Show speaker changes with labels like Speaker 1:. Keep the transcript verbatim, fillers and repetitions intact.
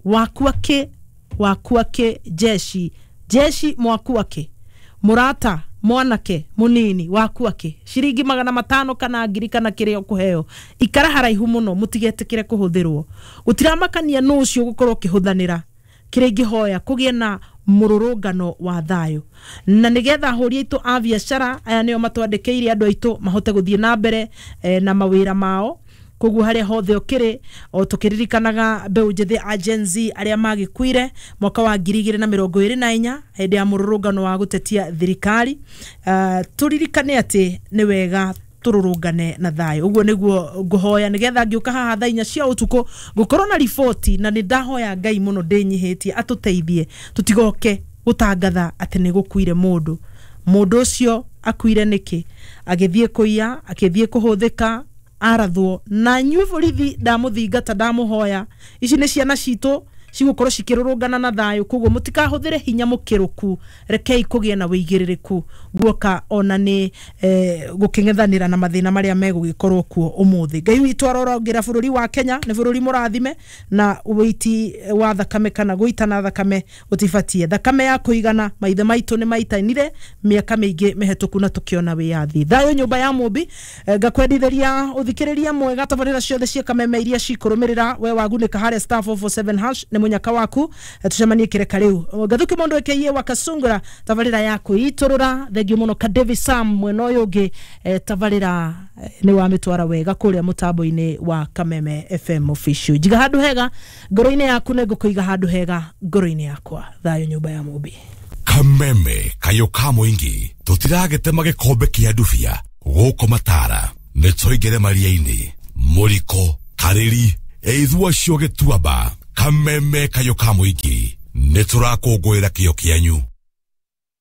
Speaker 1: Wakua kĩ? Wakua kĩ? Jeshi, jeshi, mwakua kĩ? Mũrata mwanake munini, wakua kĩ? Ciringi magana matano kana ngiri kana kĩrĩa ũkũheo, ikara haraihu mũno, mũtigetĩkĩre kũhũthĩrwo. Gũtiramakania nũ ũcio ũgũkorwo ũkĩhũthanĩra. Kĩrĩa ingĩhoya, kũgĩe na mũrũrũngano wa thayũ, na nĩgetha ahũri aitũ a biacara aya nĩo matwandĩkĩire andũ aitũ mahote gũthiĩ na mbere eh, na mawĩra mao. Koguo harĩa hothe ũkĩrĩ, o tũkĩririkanaga mbeũ njĩthĩ a Gen Z arĩa magĩkuire mwaka wa ngiri igĩrĩ na mĩrongo ĩrĩ na inya hĩndĩ ya mũrũrũngano wa gũtetia thirikari, uh, tũririkane atĩ nĩ wega tũrũrũngane na thayũ. Ũguo nĩguo ngũhoya, nĩgetha ngĩũka haha thaa inya cia ũtukũ ngũkorwo na riboti, na nĩ ndahoya Ngai mũno ndĩnyihĩtie atũteithie tũtigoke gũtangatha atĩ nĩ gũkuire mũndũ. Mũndũ ũcio akuire nĩkĩ? Agĩthiĩ kũiya, akĩthiĩ kũhũthĩka, arathwo. Na inyuĩ borithi, ndamũthingata, ndamũhoya, ici nĩ ciana citũ cigũkorwo cikĩrũrũngana na thayũ, koguo mũtikahũthĩre hinya mũkĩrũku. Rekei kũgĩe na wĩigĩrĩrĩku guoka ona nĩ eh, gũkĩng'ethanĩra na mathĩna marĩa megũgĩkorwo kuo ũmũthĩ. Ngai witũ arorongera bũrũri wa Kenya, nĩ bũrũri mũrathime, na wĩiti wa thakame kana gũitana thakame gũtibatie. Thakame ya kũigana maithe maitũ nĩ maitanire mĩaka mĩingĩ mĩhetũku na tũkĩona wĩyathi. Thayũ nyũmba ya mũmbi. eh, ngakwendithĩria ũthikĩrĩria mwega tabarĩra ciothe cia Kameme iria cikũrũmĩrĩra. We wagunĩka harĩa star four four seven hash, nĩ mũnyaka waku. eh, tucemanie kĩreka rĩu. Gathuki mũndũ ĩkĩiye wa Kasungura, tabarĩra ya kwĩitũrũra. Thengiũ mũno ka David Sam mwena ũyũ ũngĩ, eh, tabarĩra eh, nĩ wamĩtwara wega kũrĩa mũtambo-inĩ wa Kameme F M Official. Njiga handũ hega ngoro-inĩ yaku, nĩ ngũkũiga handũ hega ngoro-inĩ yakwa. Thayũ nyũmba ya mũmbi.
Speaker 2: Kameme kayo ka mũingĩ, tũtiragĩtema gĩkombe kĩa ndubia gũkũ matara, nĩ tũingĩre maria-inĩ mũriko karĩri ĩithua cio gĩtuamba. Kameme kayo ka mũingĩ, nĩ tũrakũngũĩra kĩo kĩanyu.